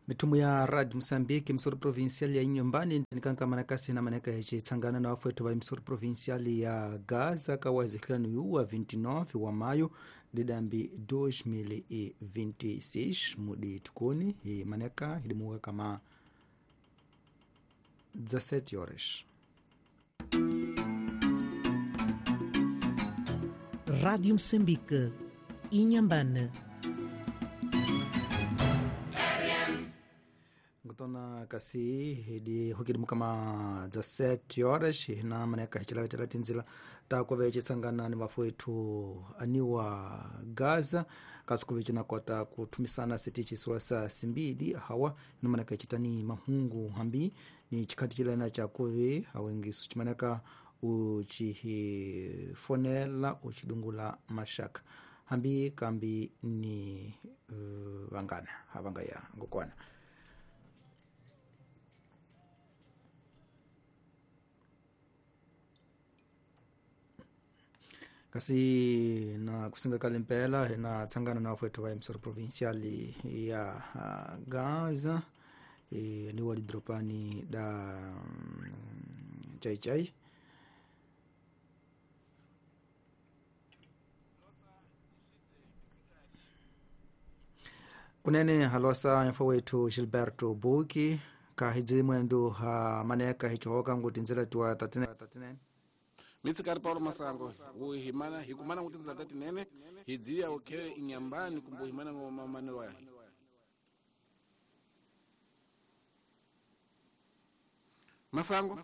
Mitumu ya Rad Msambiki msuri provincial ya Inyombani nikankamana kasi na maneka yachitsangana na wafuetu wa msuri provincial ya Gaza kawazikhanu yuwa 29 wa mayo didambi 2026 mudi tukuni maneka ilimuka kama 17 horas. Rádio Moçambique, Inhambane. Ngutona kasi hidi hukilimu kama 17 horas na maneka hichilavetela tinzila takuve chitsangana ni vafuethu aniwa Gaza kasi kuve cinakota kuthumisana sitichisiwa sa simbili hawa na maneka ichitani mahungu hambi ni chikhati chilena chakuve hawengisu chimaneka uchihifonela uchidungula mashaka hambi kambi ni vangana havangaya ngokwana. Kasi na kusinga kale mpela na tsangana na wafuetu wa msoro provincial ya Gaza ni walidropani da chai chai kunene halosa mfo wetu Gilberto Buki kahidzi mwendu ha maneka hichohoka nguti nzela tuwa 39 Mitsikari Paulo Masango uhimana hikumana kuti nzela tatinene hidziya ukhe inyambani kumbuhimana ngomamanelo ahe Masango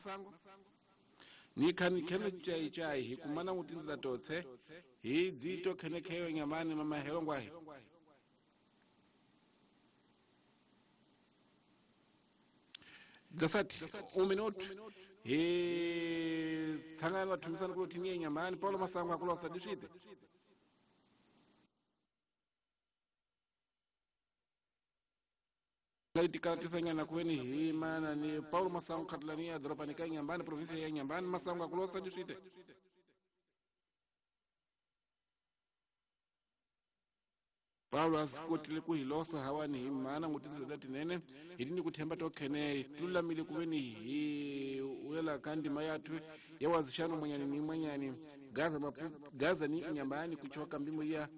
nikhani khene chai chai hikumana kuti nzela totse hidzito khene kheyo inyambani mamahelo ngwahe Zasati uminotu he tsangana vathumisana kulo thiniye nyambani Paulo Masango akulosa dishite tikalatisanyana kuveni himana ni Paulo Masango khatilaniya doropa ka Nyambani provinsia ya Nyambani Masango akulosa dishite Paulo asikotile kuhilosa hawani himana ngutizela tinene hitini kuthemba tokhene tululamile kuveni hi ulela kandima yathu yawazishano mwenyani ni mwenyani Gaza, Gaza ni inyambani kuchoka mbimo ya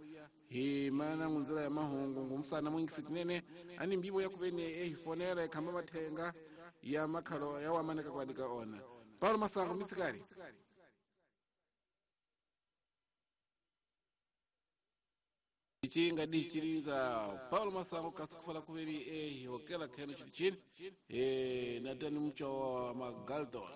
himana ngunzela ya mahungu ngumsana mwingisi tinene ani mbibo yakuveni ehifonela ekhamba mathenga ya makhalo yawamaneka kuadika ona Paulo Masango mitsikari ichinga dichirinza Paulo Masango kasikufala kuveri ehihokela kheno chili chini natani mcho wa Magalton.